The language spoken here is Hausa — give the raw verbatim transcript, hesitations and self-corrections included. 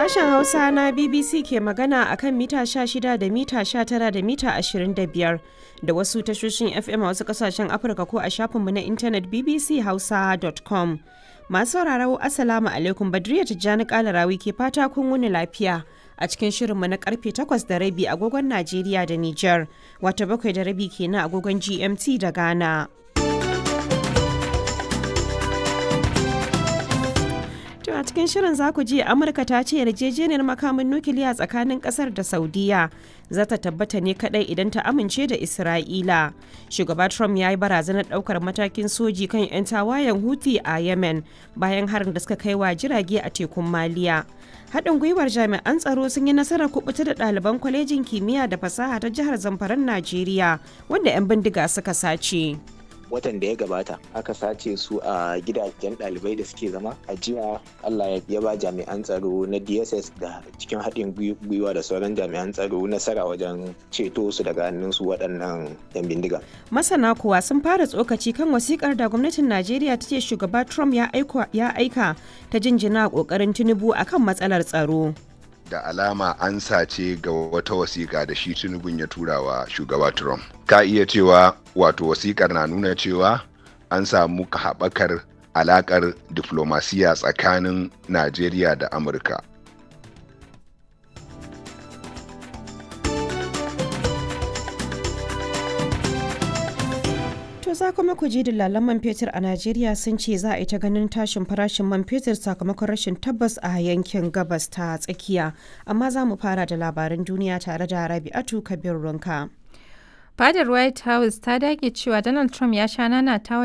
Sashen Hausa na B B C ke magana a kan mita sha shida da mita sha tara da mita ashirin da biyar da wasu tashoshin F M a wasu kasashen Afirka ko a shafinmu na intanet b b c hausa dot com. Masu sauraro, Assalamu alaikum, Badriya Tijjani Kalarawi ke fata kun wuni lafiya a cikin shirinmu na karfe takwas da rabi agogon Najeriya da Nijar, wata bakwai da rabi kenan agogon G M T da Ghana. To a cikin shirin za ku ji Amurka ta ce yarjejeniyar makamin nukiliya tsakanin kasar da Saudiya za ta tabbata ne kadai idan ta amince da Isra'ila. Shugaba Trump ya yi barazanar daukar matakin soji kan 'yan tawayen Houthi a Yemen bayan harin da suka kai wa jirage a tekun Maliya. Haɗin gwiwar jami'an tsaro sun yi nasarar kubuta da ɗaliban kwalejin kimiyya da fasaha ta jihar Zamfaran Najeriya wanda 'yan bindiga suka sace. Watan da ya gabata aka sace su a gidajen ɗalibai da suke zama a jiya. Allah ya ba jami'an tsaro na D S S da cikin haɗin gwiwa da sauran jami'an tsaro nasara wajen ceto su daga hannun su waɗannan yan bindiga. Masana kuwa sun fara tsokaci kan wasikar da gwamnatin Najeriya ta ce shugaba Trump ya aika ta jinjina ƙoƙarin Tinubu akan matsalar tsaro. Da alama an sace ga wata wasiƙa da shi Tinubun ya tura wa shugaba Trump. Ka iya cewa wato wasiƙar na nuna cewa an samu haɓakar alaƙar diflomasiya tsakanin Najeriya da Amurka. To za kuma ku ji dillalan man fetur a Najeriya sun ce za a yi ta ganin tashin farashin man fetur sakamakon rashin tabbas a yankin gabas ta tsakiya. Amma za mu fara da labaran duniya tare da Rabi'atu Kabir Runka. Fadar White House ta dage cewa Donald Trump ya sha nanatawa